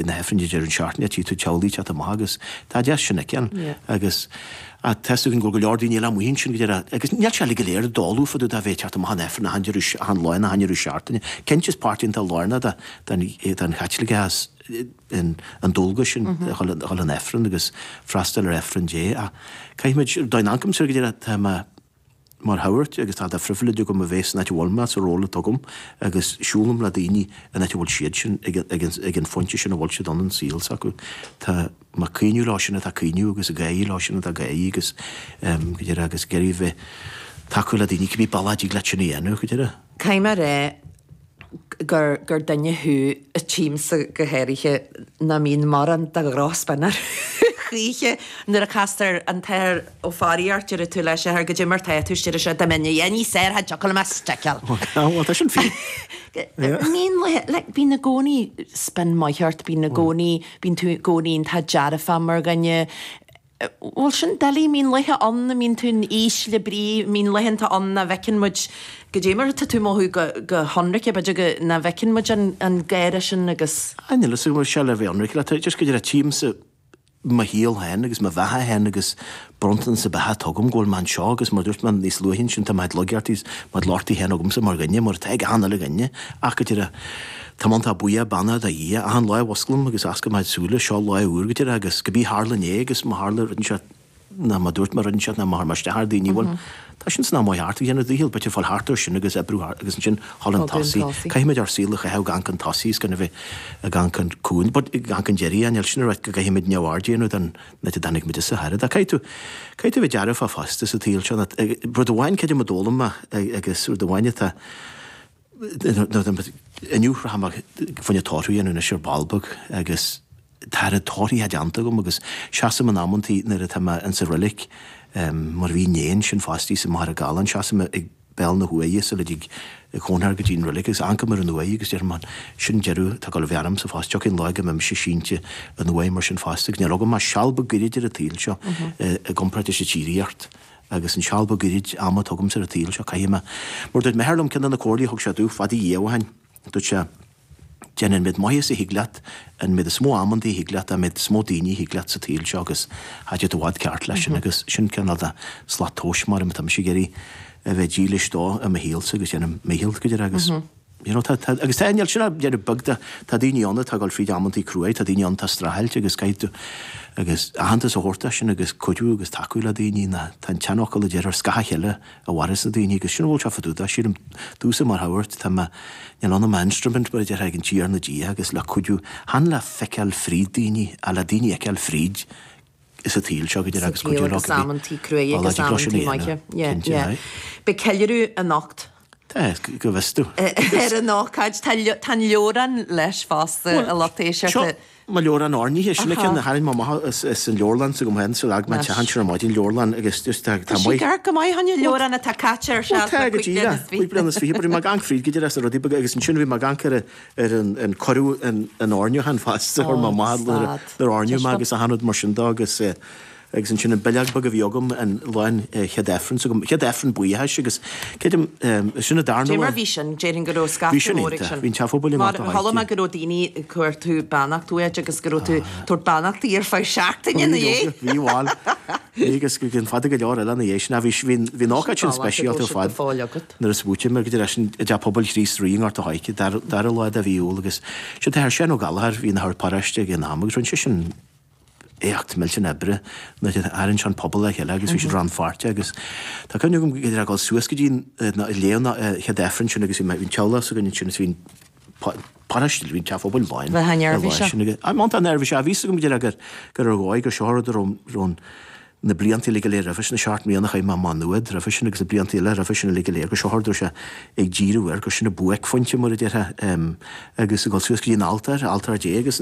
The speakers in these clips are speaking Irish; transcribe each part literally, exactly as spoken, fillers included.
na hAifrinn deireadh seachtaine, tí tú teaghlaigh teacht amach agus tá deas sin aici Yeah. agus a tá go go leor daoine eile amuigh ansin go deireadh agus níl sé uilig go léir ag dólú fá dtaobh de bheith teacht amach an Aifreann achan deireadh achan lá achan deireadh seachtaine. Cinnte is páirt iontach lárnach de den den Chaitliceachas in an dualgas sin a dhul a dhul an Aifreann agus freastal ar Aifreann Dé ach caithfimid dá n-ancam go deireadh tá mé mar shagart agus tá de phribhléid agam a bheith san áit a bhfuil mé sa ról atá agam agus siúlaim le daoine an áit a bhfuil siad sin ag ag an ag an phointe sin a bhfuil siad ann an saol s'acu. Tá má caoineadh lá sin atá caoineadh agus a gáí lá sin atá gáí agus um, go deireadh agus ag iarraidh bheith tacú le daoine cibé bealach a dtig leat sin a dhéanamh go deireadh. Caithfidh mé rá gur gur duine thú a tímsa go háirithe nach mbíonn mórán de dhrochspin air choíche nuair a castar an t-athair Ó Fearraigh ort deir tú leis ar goidé mar tá tú deir sé dá mbeinn a níos air thiocfadh liom a sticeáil. Well tá sin fi. Bíonn le bíonn i gcónaí spin maith ort, bíonn i gcónaí bíonn tú i gcónaí tá dearfa mar dhuine. Bhfuil sin doiligh mbíonn laethe ann a mbíonn tú'n ísle brí mbíonn laethanta ann nach bhfeiceann muid goidé mar tá tú mothú go go hionraice b'fhéidir go nach bhfeiceann muid an an gáire sin agus Níl is go sé le bheith ionraic le just go deireadh tímsa mo shaol féin agus mo bheatha féin agus bronntanas sa beatha tugam go bhfuil mé anseo agus mar dúirt mé níos luaithe sin tá mé loigeartaí mar lochtaí féin agamsa mar dhuine mar tá ag achan uile dhuine ach go deireadh Tá man tá buíoch beannaithe do Dhia achan lá a osclaím agus osclaím mo shúile seo lá úr go deireadh agus go bí tharla inné agus má tharla rud sé ná má dúirt mar rud sé ná mar mar isteach ar daoine bhfuil Tá sin san am thart ag déanamh dícheall b'fhéidir fáil thart air sin agus oibriú thart agus ansin thall an Fáil tosaí. tosaí. Caithfimid ár saol a chaitheamh gan an tosaí is gan a bheith gan an cúin, but gan an deireadh níl sin rá go gcaithfimid neamhaird a dhéanamh den na dtáinig muid sa hair. Caithfidh tú caithfidh tú bheith dearfa fosta sa tsaol seo. Rud amháin creidim a d'fhoghlaim mé agus rud amháin atá inniu rachaidh mé fá choinne tórramh a dhéanamh anois ar ball beag agus tá a torthaí déanta agam agus seasaim in amantaí nuair atá mé insa reilig mar bhí néan sin fostaí sa Machaire Galán seasaim ag béal na huaighe sa le ag cóngar go dtí an reilig agus amharcaim ar an uaigh agus deirim sin deireadh tá go bhearm sa fás tiocfaidh lá go mbeidh sínte an uaigh mar sin fosta níl agam ach seal beag gairid ar an tsaol seo i gcomparáid leis an tsíoraíocht agus an seal beag gairid ama tugam ar an tsaol seo caithfidh mé mar dúirt m'athair liom ceann de na comhairlí thug sé domh fada dhiaidh ó shin dúirt sé déan an méid maitheasa a thig leat an méid is mó amantaí a thig leat an méid is mó daoine a thig leat sa tsaol seo agus tá siad i bhfad ceart leis sin agus sin cineál de slat tomhais mar tá mise ag iarraidh a bheith dílis dó i mo shaolsa agus déanamh mícheall go deireadh agus you know, tá, tá, agus tá níl sin déanamh beag de tá daoine ann atá ag dul fríd amantaí cruaidh, tá daoine ann atá streachailt agus caithfidh tú agus aitheantas a thabhairt sin agus cuidiú agus tacú le daoine na tá an tseanfhocal a deir ar scáth a chéile a mhaireas na daoine agus sin bhfuil sé fadúda sílim domhsa mar shagart tá mé níl ann am instrument mar a deir ag an Tiarna Dia agus le cuidiú chan le feiceáil fríd daoine a le daoine fheiceáil fríd is a tsaol seo go deireadh agus cuidiú agus amantaí cruaidh agus amantaí maithe. Yeah, yeah. Beidh ceiliúradh anocht Tá go bhfios tú. ar an ócáid tá tá an leabhrán leis fosta a lucht éisteachta. Mo leabhrán oirnithe sin ceann na tharraing amach is an leabharlann sa go hen sa lag me tean ar maidin leabharlann agus just tá Tá sí gar go maith an leabhrán atá caite ar se Tá go díreach cúig bliana is fiche, bhí mé gan fríd go deireadh na rudaí beaga agus ansin bhí mé gan ar ar an an cuireadh an an oirniúchán fosta ar má maith nuair oirniú mé agus achan rud mar sin dó agus eh, agus ansin an bileog beag a bhí agam an lá an chéad Aifreann agam chéad Aifreann buíochais agus creidim sin a darna Dé mar bhí sin déarfainn go raibh Bhí scata sin mór ag iontach. sin. Bhí an teach pobail i Mar nGort a' chuala mé Choirce. go raibh daoine ag cuartú beannacht uait agus go raibh tú tabhairt beannachtaí ar feadh seachtaine ina dhiaidh. Bhí bhal Bhí agus go fada go leor eile ina dhiaidh sin bhí bhí bhí an ócáid sin speisialta ar fad. fáil agat. Nuair a smaoitigh mé go dtí sin i dteach pobail Chríost Rí i nGort a' Choirce dara lá de mhí Iúil agus sin tá Seán Ó Gallchóir bhí ina shagart paróiste ag an am agus rinne sé sin éacht millteanach oibre nuair a tharraing sé an pobal le chéile agus bhí siad rannpháirteach agus tá cuimhne agam go dtí dul suas go dtí léamh na chéad Aifreann sin agus bhí mé bhí an teaghlach s'againn ansin agus bhí an paróiste bhí an teach pobail lán Bheith neirbhíseach. An neirbhíseach bhí agam go dtí gur gur ar dhóigh gur seo rud a raibh na blianta uilig go léir roimhe sin na seacht mbliana chaith mé Má Nuad roimhe sin agus na blianta eile roimhe sin uilig go léir gur seo rud a raibh sé ag díriú air gur sin a buaicphointe mar a déarfá agus ag dul suas go dtí an altóir altóir Dé agus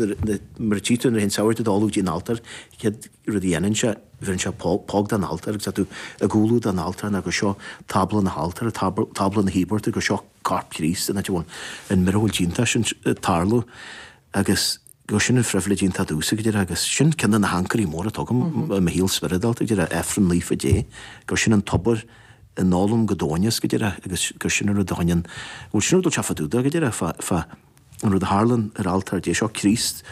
mar a tchí tú nuair a théann sagart ag dul go dtí an altóir chéad rud a dhéanann sé bheireann sé póg den altóir agus tá tú ag umhlú don altóir ná gur seo tábla na haltóra tábla na híobarta gur seo corp Chríost an áit a bhfuil an mioracal iontach sin ag tarlú agus gur sin an phribhléid iontach domhsa go deireadh agus sin ceann de na hancairí móra atá agam i mo shaol spioradálta go deireadh Aifreann Naofa Dé gur sin an tobar a n-ólaim go domhain go deireadh agus gur sin an rud a choinníonn bhfuil sin rud sé fadúda go deireadh fá fá an rud a tharlaíonn ar altóir Dé seo Críost